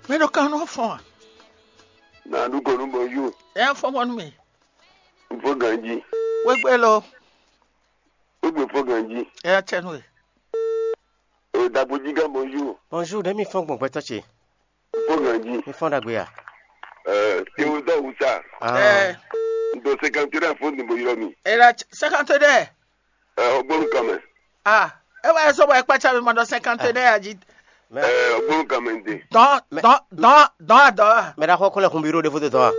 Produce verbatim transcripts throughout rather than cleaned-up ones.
Mɛ ɖo kan nɔ fɔn a? Na ɖu kɔ nú bɔjú. Ɛ fɔn mɔ nú mi. Fó ganjí. Wégbé lo. Wégbé fó ganjí. Ɛ tsɛ nú e. O dagbo jí gán bɔjú. Bonjour, ɖe mi fɔn gbɔn gbɛtɔ ce. Fó ganjí. Mi fɔn ɖagbe ya. Ɛ tewu dɔ wusa. Ah. Ɛ. N to cinquante deux fó ni bo ylɔ mi. E la cinquante deux. Ɛ o gbónú kan mɛ. Ah. E wa e sɔ bɔ e kpatsa mi ma ɖɔ cinquante deux a jí. Ɛ o gbónú kan mɛ n te. Dɔn dɔn dɔn dɔn a dɔn a. Mɛ ɖaxɔ kɔn lɛ kun biro ɖe fó te dɔn a.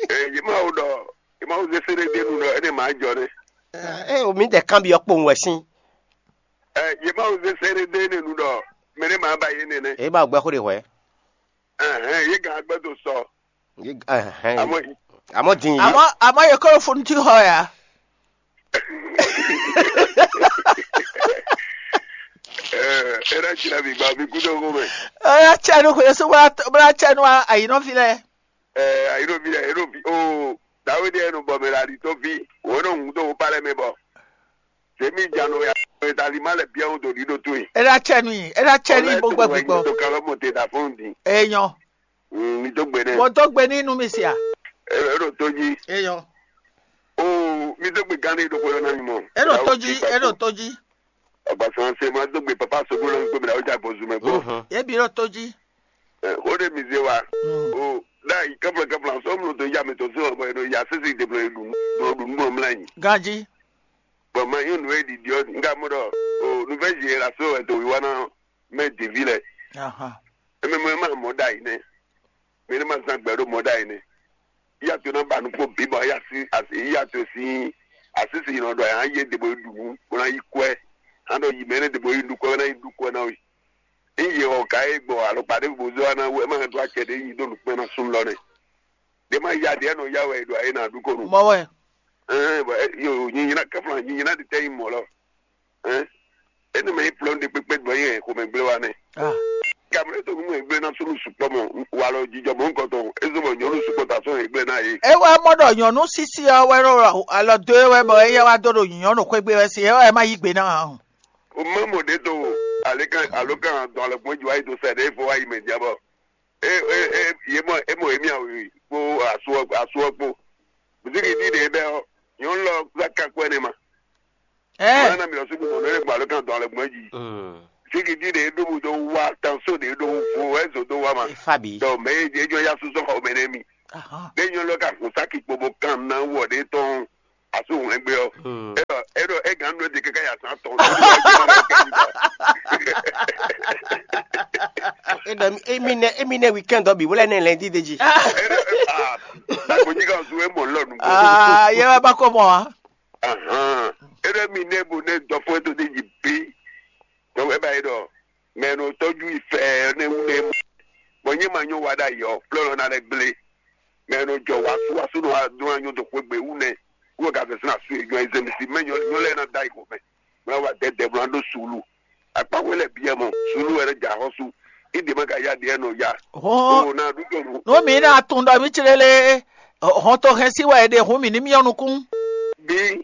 Ɛ yé ma wo ɖɔ yé ma wo zé séré dé nu ɖɔ é ne ma jɔ ne. Ɛ o mi dɛ kan bi ɔ kpowun wɛ sín. Ɛ yé ma wo zé séré dé ne nu ɖɔ mɛ ne ma ba yé ne ne. E ba gbɛ xó de hwɛ. Ɛhɛn yé gan agbɛ do sɔ. Yi- ɛhɛn. Amɔ Amɔ din yi. Àmọ́ àmọ́ yẹ kó fún tí họ yá. Ɛ ɛ ɖe tsi na mi gba mi kú dó xó mɛ. Ɔyá tsɛnu kò yẹsùn bá bá tsɛnu àyínɔfi lɛ. Ɛ ayélujára ɛ ló fi o dawidi ɛ nu bɔ mɛ la ɖi tó fi wò nɔ ŋun tó wò pa lɛ mɛ bɔ sèmi dza nɔ ya ɛ ta li ma lɛ bia wo do ɖi ɖo tó yi. Ela tsɛnu yi ela tsɛnu yi bó gbɛ gbígbɔ. Tó kalɔ mɔ te da fún di. Eyɔn. Mi dó gbe nɛ. Bó dó gbe ní inú mi sia. Ɛ ló tó jí. Eyɔn. O mi dó gbe gán ní ɖokpó yɔ náà ni mɔ. Elo tó jí elo tó jí. Ọgbà sàn ṣe máa dó gbe papa sọgbó lọ gbé mi làwọn jà bọ̀ zùmẹ̀ gbọ́. Ebi elo tó jí. Ó de mi zé wa. O náà yìí kẹ́pìlẹ̀ kẹ́pìlẹ̀ sọ mú tó yá mi tó sí ọ̀bọ̀ yẹn ya sísè ìdèbò yẹn dùn dùn dùn mìíràn yìí. Ganji. Bọ̀ máa yín nù é dìdí ọ́ nígbà mọ́dọ̀ o nùfẹ́ yìí la sọ ẹ̀ tó wíwá náà mẹ́ dèví lẹ̀. Aha. Eme mɔ ema mɔ ɖ'ayǐ nɛ́. Mɛ ɖé ma zán gbɛ ɖó mɔ ɖ'ayǐ nɛ́. Yíyá to ná ba nukpó bǐ bɔ yíyá to sín asísí nɔ ɖɔ yǎ yé ɖe bo yi ɖu nǔ bó ná yí kwɛ́. Hán ɖɔ yi mɛ énɛ́ ɖe bo yi ɖu kwɛ́ bó ná yi ɖu kwɛ́ ná we. Ényí yě xɔ ka é gbɔ alɔkpa ɖěvo bo zé wá ná wú é má hɛn dó acɛ ɖě nyi dó nǔkpɛ́n ná súnnu lɔ nɛ́. Ɖě má ya ɖě nɔ yá wɛ è ɖo ayé ná ɖu ko nu. Mɔ wɛ. Ɛɛ bɔ yo nyinyina kɛfla nyinyina ɖi tɛ nyi mɔ lɔ. Ɛɛ ene mɛ yi plɔn ɖe kpekpe bɔ yi hɛn xomɛ gblé wa nɛ. Ah. Gamɛ to nu mɛ gblé na sunu sukpɔ mɔ walɔ jijɔ mɔ nkɔtɔ ezo mɔ nyɔnu sukpɔ ta sɔn gblé na ye. E wá mɔ ɖɔ nyɔnu sisi ɔ wɛ ɖo alɔ do e wɛ bɔ eya wá dó ɖo nyɔnu xwé gbe wɛ si e wɛ ma yí gbe ná hàn. O mɛ mɔ ɖe to ale kan alo kan dɔn ale gbɔn ju ayi to sɛ ɖe fo ayi mɛ diabɔ. E e e ye mɔ e mɔ emi awi kpo asu asu kpo. Buziki di ɖe bɛ ɔ nyɔnu lɔ za kan kpɛ ne ma. Ɛ Mana mi lɔ sugu mɔ ne gba lɔ kan dɔn le gbɔn ji. Buziki di ɖe ɖo bu do wa tanso ɖe ɖo vo ɛzo do wa ma. Efa bi. Donc mais e jɔ ya susɔ xɔ mɛ ne mi. Ahɔn. Ɖe nyɔnu lɔ ka kun saki kpo bo kan na wɔ ɖe tɔn asu hɛn gbe ɔ. Eɖɔ eɖɔ e gan nɔ de kaka ya san tɔn. Eɖɔ emi nɛ emi nɛ weekend ɔ bi wlɛ nɛ lɛndi de ji. Eɖɔ ah, na ko nyi ka su e mɔ lɔ nugbo. Aa yɛ wɛ ba kɔ mɔ wa. Ahan. Eɖɔ mi nɛ bo nɛ dɔfɔ to de ji bi. Donc e ba yi ɖɔ mɛ no tɔju yi fɛ ne wu ne mɔ. Bɔn nye ma nyɔ wa ɖa yɔ plɔlɔ na lɛ gble. Mɛ no jɔ wasu wasu no wa do na nyɔ do xwe gbe wu ne. Wo ka fɛ sina su yi jɔ yi zemi si mɛ nyɔ nyɔ lɛ na da yi ko mɛ. Mɛ wa dɛ dɛ blan do sulu. Akpa we lɛ biɛ mɔ sulu wɛ lɛ ja xɔsu. Ide ma ka ya diɛ no ya. Hɔn. O na du do nu. Nu mi na tun ɖɔ mi tsele le. Hɔn to hɛn si wɛ ɖe hun mi ni mi yɔ nukun. Bi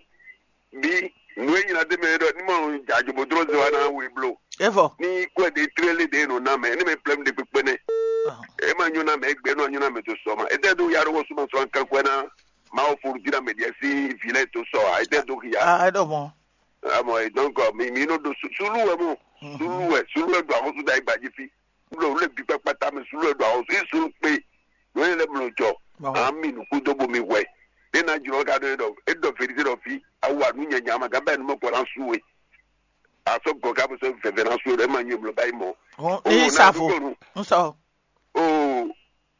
bi nu e nyina de mɛ ɖɔ ni ma ja jobo dro ze wa na we blo. Evɔ. Ni kɔɛ de tlele de no na mɛ ne mɛ plɛm de kpekpe ne. E ma nyɔ na mɛ gbe no nyɔ na mɛ to sɔ ma. E tɛ do ya ro wo suma sɔ kan kɔɛ na. Ma o furu dira mɛ diɛ si vi lɛ to sɔ a e tɛ do ya. Ah, e ɖo mɔ. Amɔ e donc mi mi no do sulu wɛ mo. Sulu wɛ sulu wɛ do ahosu da igba ji fi. Wúlò wúlò bí kpákpátá mi sùn ló ɖo àwọn sí sùn pé lóyè lɛ mlɔ jɔ. Àwọn mi nùkú dó bomi hwɛ. Ní na jùlọ ká dó ɖɔ é ɖɔ fèrèsé ɖɔ fi awu ànú nyanya ma gábɛ nu mɔ kɔ na su we. Asɔ gɔ ká bó sɔ vɛvɛ na su we ɖɔ é ma nyɔ mlɔ báyìí mɔ. Ní sàfo. N sɔ. O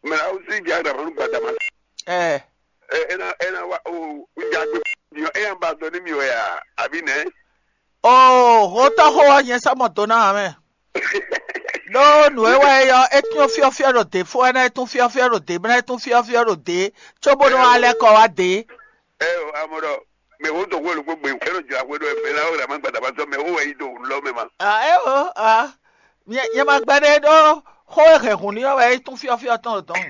mɛ awu sí di aɖa manu gbadama. Ɛ. Ɛ ena ena wa o n ja gbe. Diɔ eya ba dɔ ní mi wɛ ya àbí nɛ. Oo, xótɔ́ xó ɔ́ nyɛ sɔ́ mɔ do ná ǎ mɛ. Ɖó nǔ e wɛ é ɔ́, é tún fyɔ́fyɔ́ ɖo dě fó, é ná é tún fyɔ́fyɔ́ ɖo dě, bó ná é tún fyɔ́fyɔ́ ɖo dě, cóbó nɔ wá lɛ́ kɔ wá dě. Ɛ o, amɔ ɖɔ mɛ wo dɔn xwé lóko gbe, é nɔ jla xwé ɖɔ mɛ la wɛ la ma gbada ma sɔ mɛ wo wɛ yi do lɔ mɛ ma. A é o, a nyɛ nyɛ ma gbɛ ɖe ɖó xó e hɛn hǔn ní ɔ́ wɛ é tún fyɔ́fyɔ́ tɔn ɖo dɔn.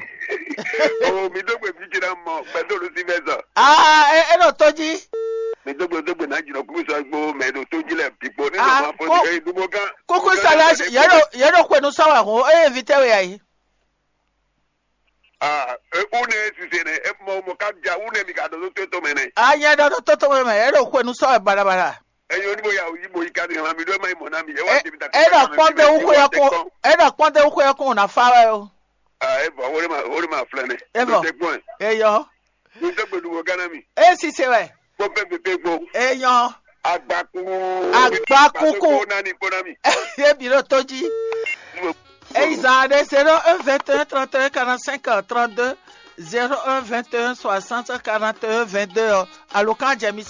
O mi dó gbe fí ce ná mɔ gbɛdó lu sí fɛ sɔ. A é é ɖo tó jí. Mɛ dó gbe dó gbe ná jìnnà kúkú sɔ gbó mɛ ɖo tó jí lɛ bǐ kpó ní Ah, nɔ ma fɔ kó- ní eye dúgbò gán. Kúkú sala yɛ ɖo yɛ ɖo kún sɔ wɛ hɔn eye vi tɛ wɛ ayi. Ah, e une sise ne e mɔ mɔ ka ja une mi ka ɖo tó tó mɛ ne. Anya ɖɔ ɖo tótó mɛ mɛ yɛ ɖo kún sɔ wɛ balabala. Eyo ni bo ya yi bo yi ka ni hlan mi ɖo ma yi mɔ na mi. E wa Ɛ- de mi ta Ɛ ɖɔ kpɔn de wú xwe yɛ kún. Ɛ ɖɔ kpɔn de wú xwe yɛ kún na fa wɛ o. Ah, e vɔ wole ma wole ma flɛ ne. E vɔ. Te gbɔn. Eyɔ. Mi dó gbe dúgbò gán na mi. E sise wɛ. Kpɔn pɛ pɛ pɛ gbɔn. Eyɔ. Agbaku. Agbaku kún. Kpɔn na ni kpɔn na mi. Ye bi ɖo tó jí. Eyi zan ɖe zéro un vingt et un trente et un quarante cinq trente deux, zéro un vingt et un soixante quarante et un vingt deux ɔ, alokan jɛ mi